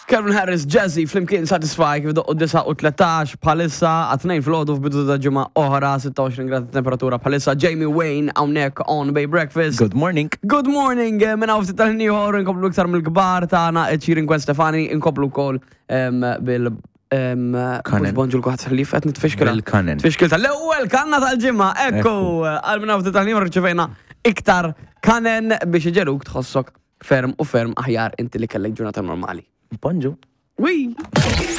Calvin Harris, Jazzy, flimkien Satisfy, kif doqqu 9 u 13 bħalissa, għat-tnejn filgħodu f'bidu ta' ġimgħa oħra, 26 grad temperatura bħalissa, Jamie Wayne hawnhekk on Bay Breakfast. Good morning. Good morning, eh, minn hawn ftit tal-ħin ieħor inkomplu iktar mill-kbar tagħna Ed Sheeran Gwen Stefani, inkomplu wkoll em, bil em, Kanen. mhux bonġu l-kulħadd ħlief qed nitfixkilha. Bil-kanen. Tfixkil tal-ewwel kanna tal-ġimgħa, ekku, għal minn hawn ftit tal-ħin ieħor rċevejna iktar kanen biex iġeluk tħossok ferm u ferm aħjar inti li kellek ġurnata normali. Bonġu. Wi!